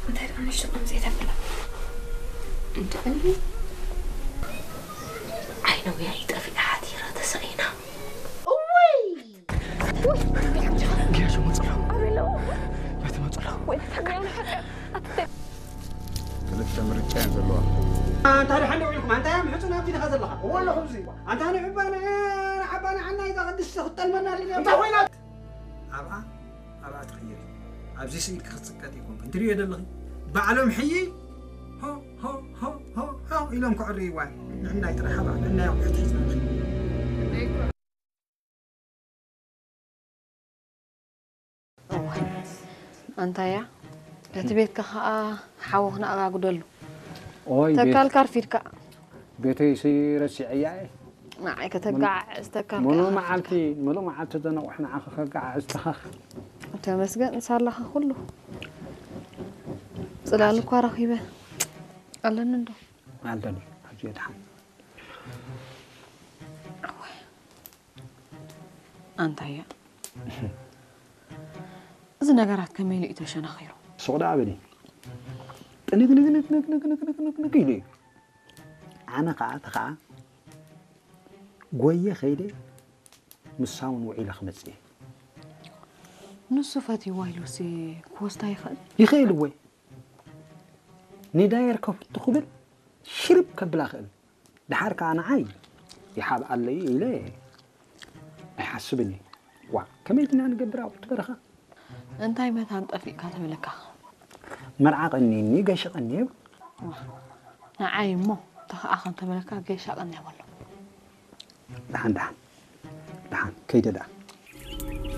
እንታይ ደኣ ንእሽቶ ከምዚ ተብላ? እንድዕሊ ዓይነውያ ይጠፊኣ ሓቲራ ተሳኢና። እወይ! ገያሾ መፅሎ። በቲ መፅሎ። ክልተ ምርጫ እየን ዘለዋ። ኣንታ ደሓን ደው ኢልኩም፣ ኣንታ እያ ምሕጹን ኣብቲ ዲኻ ዘለኻ? እዎ ኣለኹ ኣብዚ። ኣንታ ንዕባና፣ ንዓባና ዓና ኢዛ ቅድስቲ ክትጠልመና ድልያ። እንታይ ኮይና? ኣብኣ፣ ኣብኣ ትቕይሪ። ኣብዚ ስኢልኪ ክትጽቀጢ ኣይኮንክን። ትርእዮ ዘለኺ። ባዕሎም ሕይይ፣ ሆ፣ ሆ፣ ሆ፣ ሆ፣ ሆ ኢሎም ከዕርይዋ። ንዕናይ ጥራሕ ሃባ፣ ንዕናይ ኣቑሑት ሒዝና ንኸይድ። ኣንታያ፣ እቲ ቤትካ ኸኣ ሓወኽና ኣጋጉደሉ። ኦይ፣ ቤት ተካልካ ኣርፊድካ። ቤተይሲ ረሲዐያ እየ። ንዓይ ከተጋዕዝ ተካልካ ምሉእ ኣርፊድካ። መዓልቲ፣ ምሉእ መዓልቲ ዘነቑሕ ንዓኺ ከጋዕዝ ተኻኽ። ተመስገን፣ ሳላኻ ኩሉ። ጽላል እኳ ረኺበ። ኣለኒ እንዶ። ኣለኒ፣ ኣብዚ የድሓን። ኣንታያ፣ እዚ ነገራት ከመይ ኢሉ እዩ ተሸናኺሩ? ሱቕ ደኣ በሊ። ጥንግንግንግንግንግንግንግንግ ኢሉ እዩ። ኣነ ኸዓ፣ እቲ ኸዓ፣ ጎየ ኸይደ፣ ምሳ እውን ውዒለ ክመጽእ እየ። ንሱ ፈትይዋ ኢሉሲ ክወስዳ ይኽእል? ይኽእል እወ። ንዳየር ከፍቱ ክብል ሽርብ ከብላ ክእል። ደሓር ከኣ ንዓይ ይሓብኣለይ ኢለ ኣይሓስብን እየ። ዋእ፣ ከመይ ድና ንገብር ኣብኡ እቲ በረኻ? እንታይ መታን ጠፊእካ ተበለካ? መርዓ ቀኒኒ፣ ገሽ ቀንየ። ዋእ፣ ንዓይ እሞ ተኸኣ ከም ተበለካ ገሻ ቀንያ በሎ። ደሓን፣ ደሓን፣ ደሓን፣ ከይደ ደኣ።